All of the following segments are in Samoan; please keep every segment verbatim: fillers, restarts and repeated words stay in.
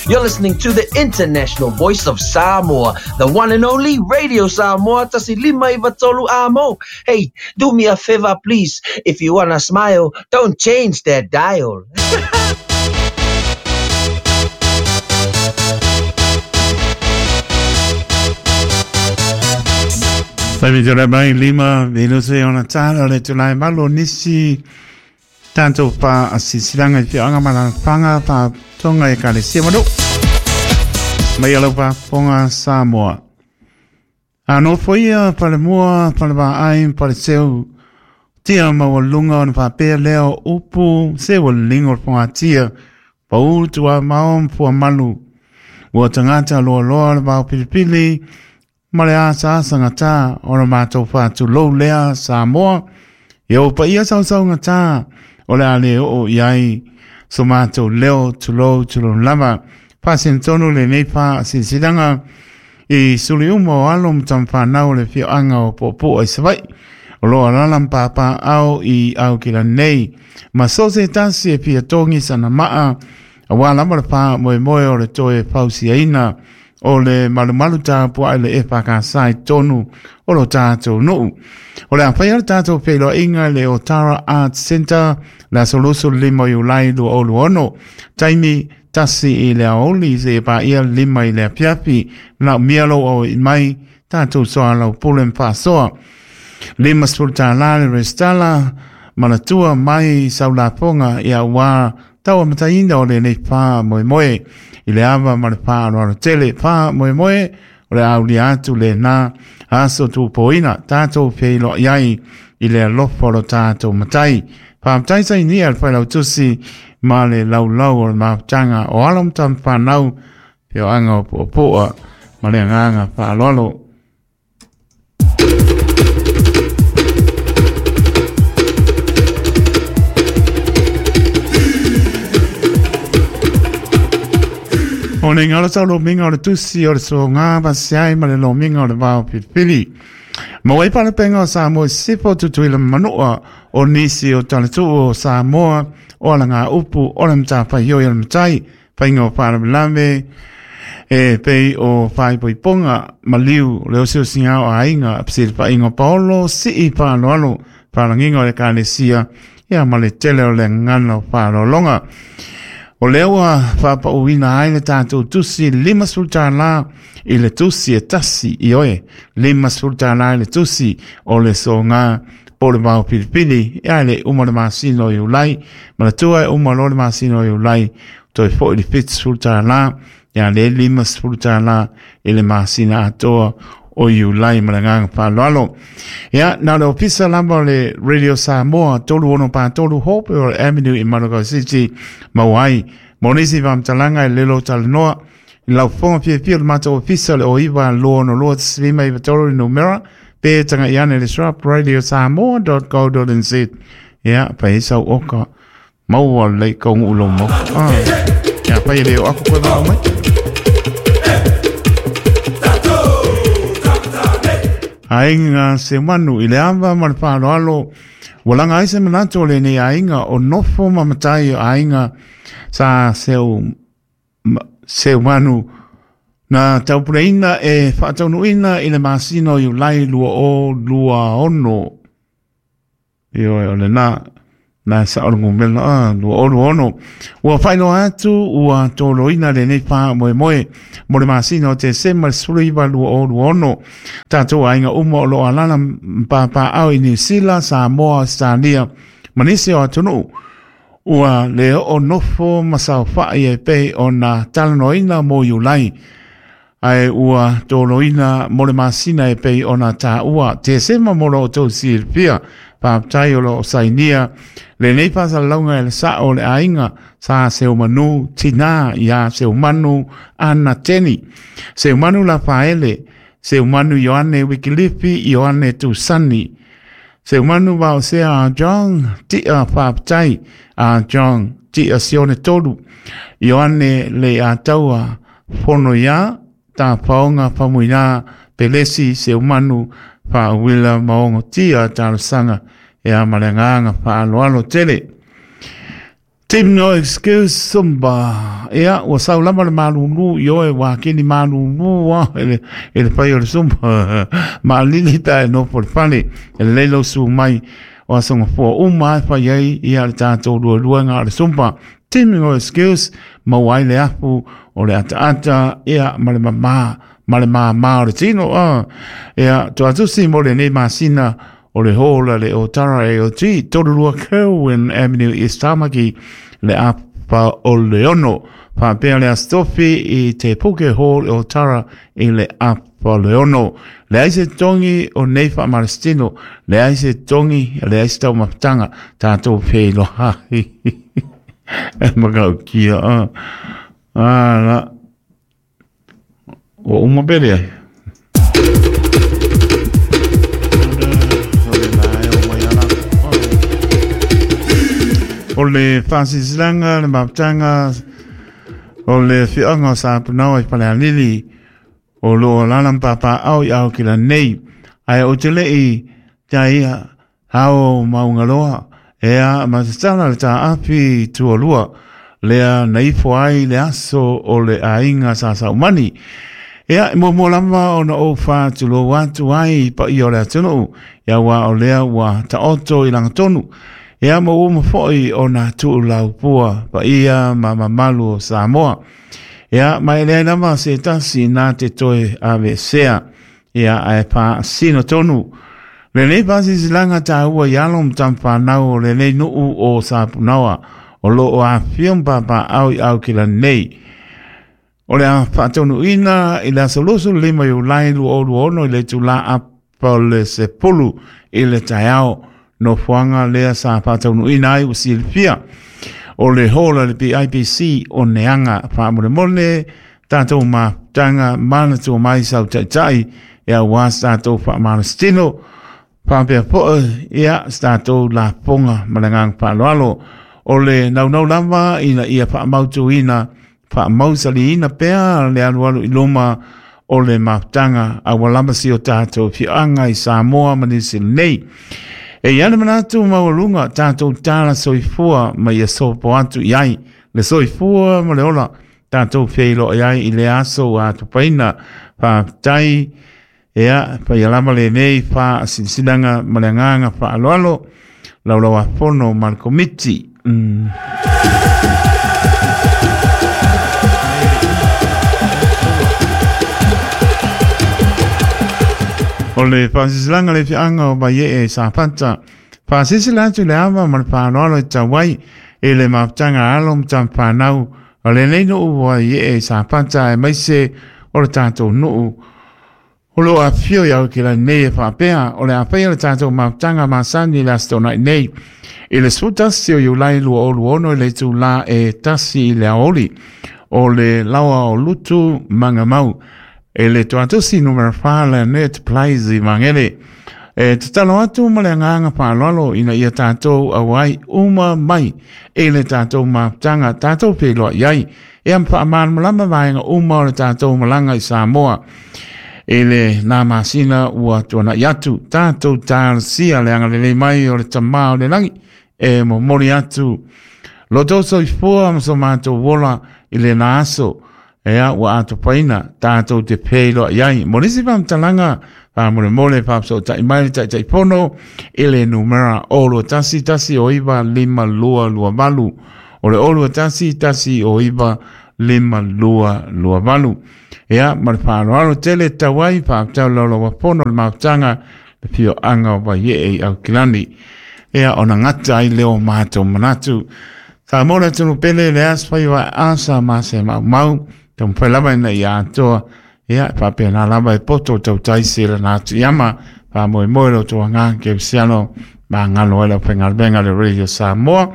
You're listening to the international voice of Samoa, the one and only Radio Samoa, tasi lima iva tolu amo. Hey, do me a favor, please. If you wanna smile, don't change that dial. Taimi tō mai lima, minute ona tāna le tūlai malo nisi tātou pā a sisilanga i whianga mana whanga pā tonga e kare sia manu. Mai alau pā ponga Samoa. A no foia pale mua, pale vaai, pale seu, tia maua lunga ona whapea leo upu, seu lingo ponga tia, pau tua maom pua malu. Ua tangata loa loa le vao pilipili, ma le asa asa ngata o le mātou whātu lou lea Samoa. E o pa ia sau sau ngata o le ale o iai so mātou leo tulou tulou lava. Pāsen tonu le nei pā sisilanga i suli uma o alo mtamwhanau le whioanga o popo ai sawai. O loa lala mpapa au i au kila nei. Ma so se tasi e pia tongi sana maa a wā lama le pā moe moe o le toe pausi aina o le malumalu tāpua le e whakasai tonu o lo tātou nuu. O le awhai le tātou pēlo inga le Otara Arts Center la solusu lima i ulai lua olu ono. Taimi tasi i le aoli se e pā ia lima i le apiapi lau mialo o i mai tātou soa lau pule mwhasoa. Lima spulta la le restala manatua mai saulaponga ia wā taua mataina o le nei pā moe moe. I le ava ma le pā aloalo tele pā moe moe o le aulia atu le nā aso tūpoina tātou peilo iai i le alofa o lo tātou matai. Pā matai sai nia le whailau tusi ma le laulau o le maputanga o alo mtam whanau peo anga o poapoa ma le anganga whaaloalo. O ne ngalo tau lo minga o le tusi o le so ngā pasiai ma le lo minga o le vao pilipili. Ma wai pale penga o Samoa sipo tutuila manua o nisi o talatu o Samoa o ala ngā upu o le mtāwhai hoi o le matai whainga o wharamalame e pei o whaipoiponga maliu le osio singa o ainga psili whainga paolo si i whaaloalo whalanginga o le kalesia ia ma le tele o le ngana o whaalolonga. O lea whapauina ai le tātou tusi lima sultana i le tusi e tasi i oe. Lima sultana i le tusi o le so ngā po le mau pilipili. E ai le uma le masino i ulai. Ma le tua e uma lo le masino i ulai. Toi fo i le fitu sultana. Ia le lima sultana i le masina atoa o i ulai ma le nganga whaloalo. Ia, nā le ofisa lamba o le Radio Samoa, tolu ono pā tolu hope o le Avenue i Manukau City, Mauai. Monisi whamtalanga i lelo talanoa, i lau fonga pia pia le mātou ofisa le o iwa loa no loa tisilima iwa tolu i numera, pe tanga iane le shrap radio samoa dot co dot n z. Ia, pa isau oka, maua le kongu ulo mo. Ah. Ia, pa i leo aku koe mau mai. Ainga se manu i le ava ma le whaaloalo. Walanga ai se manato o le nei ainga o nofo ma matai o ainga sa seu, seu manu na taupureina e whaataunuina i le masino i ulai lua o lua ono. I oe o le nā, nā sa o le ngumela, ah, lua o lua ono. Ua whailo atu, ua tōloina le nei pā moe moe, mo le masino o te sema le suluiwa lua o lua ono. Tātou ainga uma o lo alala mpapa au i New Zealand, Samoa, Australia, manisi o atunu. Ua le o nofo masau whai e pei o nā talanoina mo iulai. Ai ua tōloina mo le masina e pei o nā tā ua. Te sema mo lo o tau sirpia. Pāptai o lo o sainia. Le nei pāsa launga e le sa o le ainga. Sa seu manu tina ia seu manu ana teni. Seu manu la paele. Seu manu Ioane Wikilipi Ioane Tusani. Seu manu wao sea a John tia pāptai a John tia sione tolu. Ioane le a taua pono ia tā paonga pamuina pelesi seu manu pa wila maongo tia talosanga e a malenganga pa aloalo tele. Team No Excuse Zumba. Ia, ua sau lama le malulu i oe wā kini malulu wā ele, ele pai o le Zumba. Maalili ta e nofo le fale. Ele leilo su mai o asonga fua uma e whai ai ia le tātou lua lua ngā le Zumba. Team No Excuse mau ai le afu o le ata ata ia ma le mama ma le mama o le tino. Uh. Ia, tuatusi mo le nei masina o le hola le Otara A O T, Torurua Kerwin Avenue East Tamaki, le apa o le ono. Whapea le astofi i te Puke Hall Otara i le apa o le ono. Le aise tongi o nei whaamarastino, le aise tongi, le aise tau mapatanga, tātou pēloha. E makau kia. Ah, la. O uma pere ai. O le whasisilanga, le maputanga, o le whianga o Sapunau i Palealili, o lo lalam papa au i au kila nei. Ai o te lei, te ia, hao maungaloa, ea matatala le tā api tualua, lea naifo ai le aso o le ainga sa saumani. Ea, mo mo lama o na o whātulo wātu ai pa i o le atunu, ia wā o lea wā taoto i langatonu. Ea mo uma foi o nā tuulau pua pa ia ma mamalu o Samoa. Ea mai lea lama se tasi nā te toe ave sea. Ea ae pā sino tonu. Le nei pasisilanga tā ua ialo mtamwhanau o le nei nuu o Sapunawa. O lo o a whiom papa au i au kila nei. O le a whaatonu ina i le asolosu lima i ulai lu o lu ono i le tula apa le sepulu i le taiao. No fuanga lea sa whātaunu ina ai o silfia. O le hola le P I P C o neanga whaamure mole, tātou maputanga mana tō mai sau taitai, ia wā tātou whaamarastino, whaapea poe, ia tātou la ponga malangang whaaloalo. O le naunau lava ina ia whaamautu ina, whaamausali ina pea le alualu i loma o le maputanga a walama si o tātou whianga i Samoa manisi nei. E iana manatu maualunga tātou tāla soifua ma ia sopo atu i ai. Le soifua ma le ola tātou wheilo i ai i le aso a tupaina. Whaatai ea whaialama le nei wha sinasinanga ma le nganga whaaloalo. Laulawa pono ma le komiti. Mm. O le whasisilanga le whianga o mai e sa pata. Whasisila atu le awa ma le whanoalo i tawai e le maputanga alo mtamwhanau. O le nei nuu wa i e sa pata e maise o le tātou nuu. O lo a whio iau ki la nei e whapea. O le awhea le tātou maputanga masani le astona i nei. I le sutasi o iulai lua olu ono i le tū la e tasi i le aoli. O le lawa o lutu mangamau. E le tuatusi numera wha le net plays i mangere. E te talo atu ma le nganga whaloalo ina ia tātou awai uma mai. E le tātou maputanga tātou pēloa iai. E am whaamanmalama vaenga uma o le tātou malanga i Samoa. E le nā masina ua tuana i atu. Tātou tārasia le anga lele mai o le tamā o le langi. E mo mori atu. Loto soifua maso mātou wola i le nā aso. Ea ua atopaina tātou te pēloa iai. Mo nisi whamtalanga, whamore mole whapso tai mai tai tai pono, ele numera olo tasi tasi o iwa lima lua lua valu. O le olo tasi tasi o iwa lima lua lua valu. Ea, ma le whaaloalo tele tawai whaptau lolo wapono le mautanga le pio anga o vai e au kilani. Ea, ona ngata ai leo mātou manatu. Ka mora tunu pele le aswai wa asa mase mau mau. Tau pai lava ina ia atoa, ia, whapea nā lava e poto tau taisi la nā tu iama, wha moe moe lo toa ngā ke usiano, ma ngalo ela pengalbenga le Radio Samoa.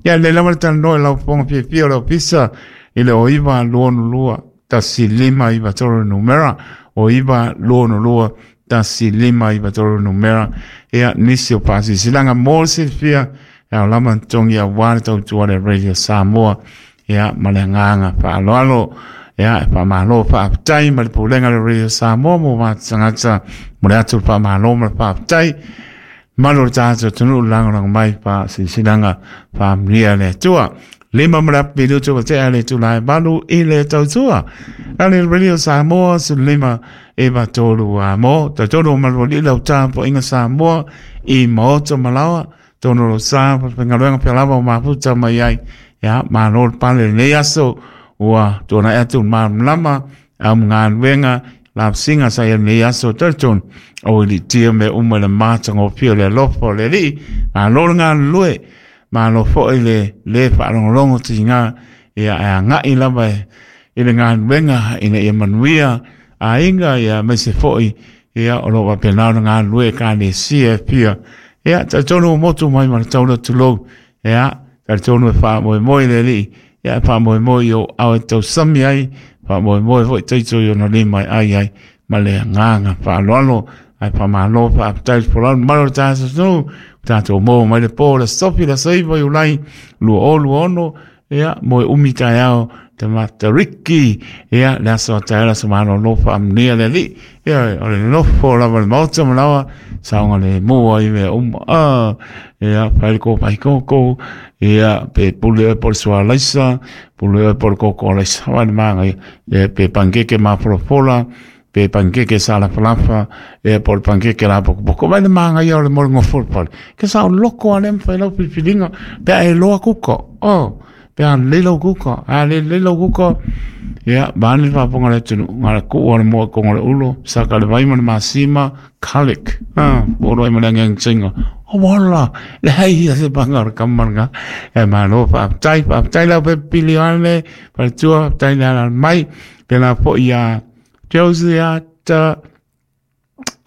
Ia, le lava le tano e lau ponga pia pia o lau pisa, i le o iwa luono lua, tasi lima iwa toro numera, o iwa luono lua, tasi lima iwa toro numera, ia, nisi o pasi silanga mo silfia, ia o lama tongi a wale tau tuare Radio Samoa, ia, ma le nganga whaaloalo. Ia, e whamalo whaapatai ma le pūlenga le Radio Samoa mo mātangata mo le atu whamalo ma le whaapatai. Malo le tātou tunu langolango mai wha sisilanga whaamnia le atua. Lima mrap minutu wa te ale tūlai malu i le tautua. Ale Radio Samoa su lima e va tolu a mo. Ta tolu malu li lau tāpo inga Samoa i maoto malawa. Tono lo sa pengaluenga pelava o maputa mai ai. Ya, malo pale le aso ua tona atu mamlama am nganwenga la singa sa ya le aso tolton o li tia me uma le matanga o pio le lofo le li malo nga lue malo fo ile le whaalongolongo ti ngā ia a ngai lava i le ngā ina ia manuia a inga ia me se foi ia o lo wapenau ngā lue ka ne sia pia ia ta tonu motu mai ma taula tulou ia ta tonu e wha moe moe le li ia wha moe moe o au e tau sami ai wha moe moe foi teito i ona le mai ai ai ma le ngā wha aloalo ai wha malo wha aptai polano malo tāsa snu tātou mō mai le pō le sofi le seiva i ulai lua o lua ono ia moe umi tai ao te matariki ia le aso taela sa malo lofa amnia le li ia o le nofo lava le maota malawa saonga le mua i mea uma a ia whaile ko pai koko ia pe pule po le sua laisa pule po le koko laisa wale manga ia pe pankeke mafolofola pe pankeke sa la falafa e po le pankeke la poko poko wale manga ia o le mole ngofol pale ke sa o loko ale mwhai lau pilipilinga pe a e loa kuko oh pe a lelo kuko a le lelo kuko ia bani paponga le tunu ngala ku o le moa kongo le ulo saka le vaima le masima kalik ah oro i male ngeng singa o wala le hei ia se panga o le kamanga e malo pa tai pa tai la pe pili ane pa tua tai la mai pe la po ia Josie ata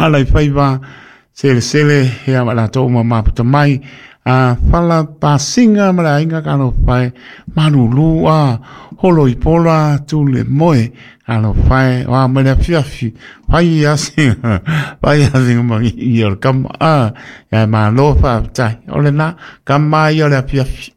ala i faiva sele sele ia la tō uma maputa mai a fala pasinga mala inga kano fai manulu a holo i pola tu le moe kano fai wa mele fiafi fai asinga fai asinga mangi i o kama a ia malo fa tai ole na kama i o le fiafi